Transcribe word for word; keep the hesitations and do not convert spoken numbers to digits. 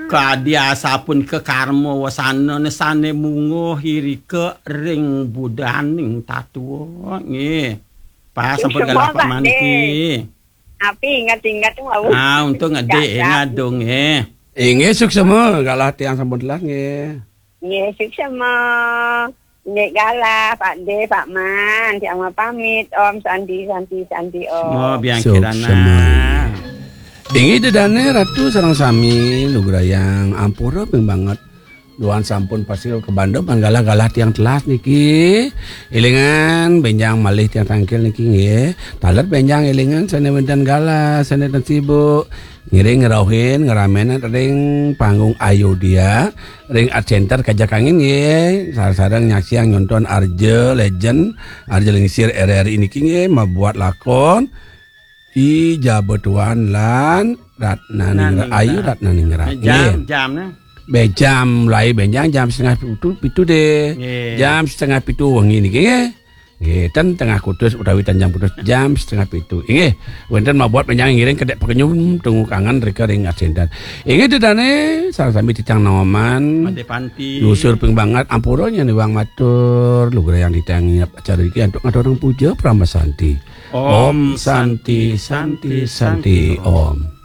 Kadi asapunika karma wasana sane mungguh irika ring budaning tatua. Nggih. Pas sampun galah Pak Maniki. Api ingat-ingat wau. Ah, untung ngedek ingat dong, eh. Inggih, suksema, galah tiang sampun telah, nggih. Nggih, suksema. Nggih galah, Pak De, Pak Man, tiang mau pamit. Om Santi, Santi, Santi, Om. Semua biang kirana. Inggih dedane Ratu sareng sami lugrayang ampura ping banget. Duan sampun pasti kebanda pan galah-galah tiang telas niki. Elingan benjang malih tiang tangkil niki nggih. Taler benjang elingan sane wenten galah, sane ten sibuk. Ngiring ngerauhin ngeramenan ring panggung Ayodhya, ring Art Center Kajak Angin nggih. Sareng-sareng nyaksiang nyonton Arja Legend, Arja Lingsir R R I niki nggih mabuat lakon I Jaba Tuan lan Ratna Ningrat. Ayu Ratna Ningrat. Jam, nggih. Jam nah. Be jam mulai benjang jam setengah pitu, pitu deh. Nggih. Jam setengah pitu wengi niki nggih. Nggih, ten tengah kutus utawi ten jam kutus jam setengah pitu. Inggih, wenten mabuat benjang ngiring kedek pekenyum tunggu kangen rika ring asinten. Inggih dedane sareng sami titang naoman. Pade panti. Yusur ping banget ampura nyen iwang matur lugrayang titang ngiap acara iki antuk ngaturang puja Parama Santi. Om Santi, Santi, Santi, Om.